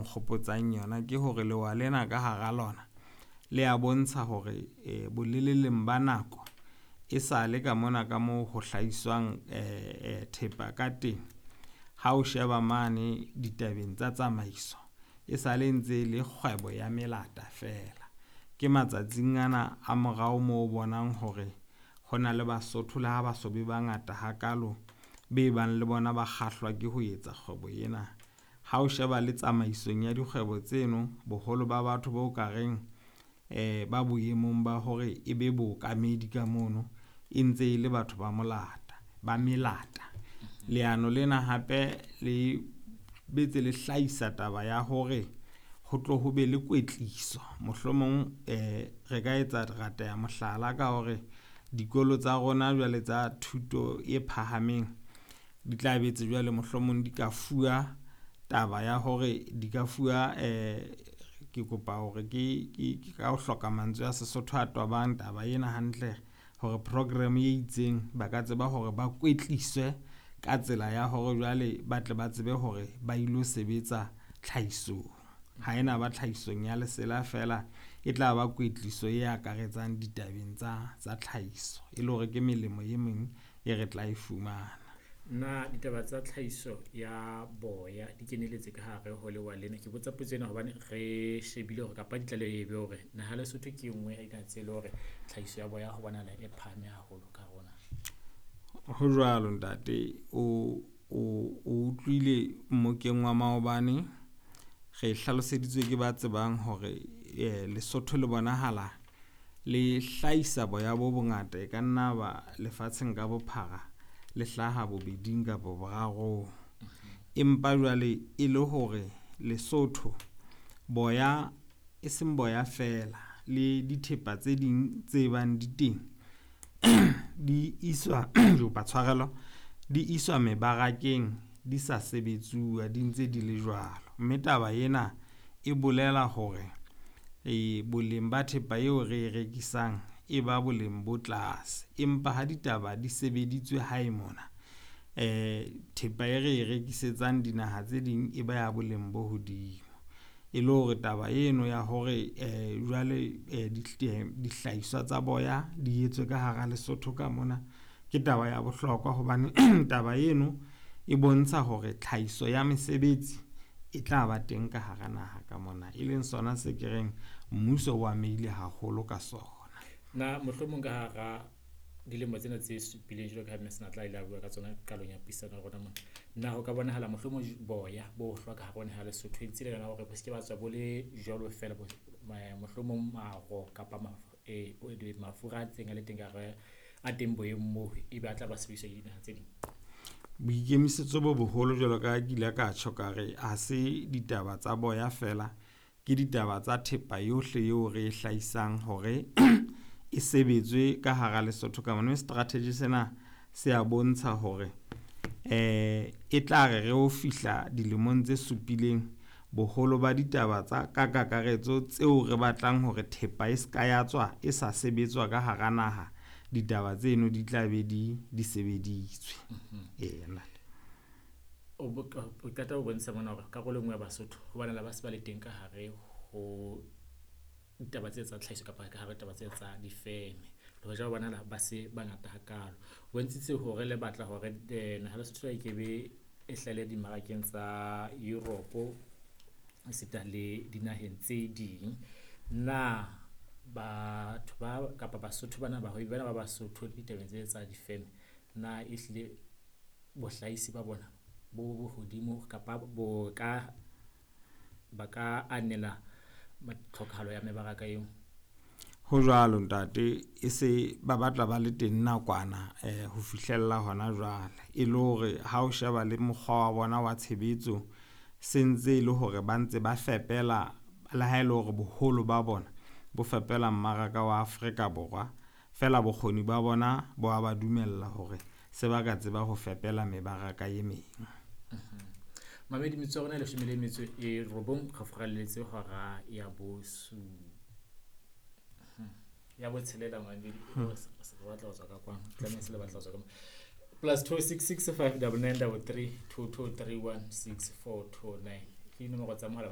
nkgopotsang yona ke hore lewa lena ka hara lona le a bontsha hore boleleleng ba nako e sale ka mona ka moo ho hlahiswang thepa ka teng. Ha o sheba mane ditabeng tsa tsamaiso e sale ntse e le kgwebo ya melata feela. Ke matsatsing ana a morao moo o bonang hore ho na le Basotho le ha ba so be bangata hakalo be bang le bona ba kgahlwa ke ho etsa kgwebo ena. Ha o sheba le tsamaisong ya dikgwebo tseno, boholo ba batho bo ka reng ba boemong ba hore e be bookamedi ka mono e ntse e le batho ba molata, ba melata. Leano lena hape le betse le hlahisa taba ya hore ho tlo ho be le kwetliso. Mohlomong re ka etsa rata ya mohlala ka hore dikolo tsa rona jwale tsa thuto e phahameng di tla betse jwale mohlomong di ka fuwa taba ya hore di ka fuwa ke kopa hore ke ka ho hloka mantswe a Sesotho a tobang taba ena hantle hore program e itseng ba ka tseba hore ba kwetliswe ka tsela ya hore jwale ba tle ba tsebe hore ba ilo sebetsa tlhahisong. Ha ena ba tlhahisong ya lesela feela, e tla ba kwetliso e akaretsang ditabeng tsa tlhahiso, e le hore ke melemo e meng e re tla e fumana. Na ditaba tsa tlhahiso ya boya di keneletse ka hare ho lewa lena? Ke botsa potso ena hobane re shebile hore kapa ditlaleho e be hore naha Lesotho ke e nngwe ya dinaha tse le hore tlhahiso ya boya ho bonahala e phahame haholo ka hare ho naha. Ho jwalo ntate, o utlwile mmokeng wa maobane re hlaloseditswe ke ba tsebang hore Lesotho le bonahala le hlahisa boya bo bongata e ka nna ba lefatsheng ka bophara le hlaha bobeding kapa borarong. Empa jwale e le hore Lesotho boya e seng boya feela le dithepa tse ding tse bang di teng di iswa tshwarelo di iswa mebarakeng di sa sebetsuwa di ntse di le jwalo. Mme taba ena e bolela hore boleng ba thepa eo re e rekisang e ba boleng bo tlase. Empa ha ditaba di sebeditswe hae mona, thepa e re e rekisetsang dinaha tse ding e ba ya boleng bo hodimo. E le hore taba eno ya hore jwale dihlahiswa tsa boya di etswe ka hara Lesotho ka mona ke taba ya bohlokwa hobane taba eno e bontsha hore tlhahiso ya mesebetsi e tla ba teng ka hara naha ka mona, e leng sona se ke reng mmuso o amehile haholo ka sona. Na mohlomong ka hara dilemo tsena tse supileng jwalo ka ha Mme Senatla a ile a bua ka tsona qalong ya puisano ya rona mona, na ho ka bonahala mohlomong boya bo hlwa ka hare ho naha ya Lesotho e ntse le yona hore bo se ke ba tswa bo le jwalo feela, mohlomong maro kapa mafura a ntseng a le teng ka hare a teng boyeng moo ebe a tla ba sebediswa ke dinaha tse ding? Boikemisetso bo boholo jwalo ka ke ile ka tjho ka re ha se ditaba tsa boya feela, ke ditaba tsa thepa yohle eo re e hlahisang hore e sebetswe ka hara Lesotho ka mona. Mme strategy sena se a bontsha hore e tla re re ho fihla dilemong tse supileng boholo ba ditaba tsa ka kakaretso tseo re batlang hore thepa e ska ya tswa e sa sebetswa ka hara naha, ditaba tseno di tla be di sebeditswe. O qeta ho bontsha mona hore karolo e nngwe ya Basotho ho bonahala ba se ba le teng ka hare ho ditaba tse tsa tlhahiso kapa ka hare taba tse tsa difeme. Le hoja ho bonahala ba se bangata hakalo. Bontshitse hore le batla hore naha Lesotho e kebe e hlahelle dimmarakeng tsa Europe esita le dinaheng tse ding. Na batho ba kapa Basotho bana bahwebi bana ba Basotho ditabeng tse tsa difeme, na ehlile bohlahisi ba bona bo hodimo kapa bo ka ba ka anela tlhokahalo ya mebaraka eo? Ho jwalo ntate, e se ba batla ba le teng nakwana ho fihlella hona jwale. E le hore ha o sheba le mokgwa wa bona wa tshebetso se ntse e le hore ba ntse ba fepela, le ha e le hore boholo ba bona bo fepela mmaraka wa Afrika Borwa, feela bokgoni ba bona bo a ba dumella hore se ba ka tseba ho fepela mebaraka e meng. Mamedi, metsotso ya rona e 19 re furalletse hora ya ya botshelela mamedi. Re batla ho tswa ka kwano, tlameha se le batla ho tswa ka +266 5 99 33 22 31 6429 ke dinomoro tsa mohala.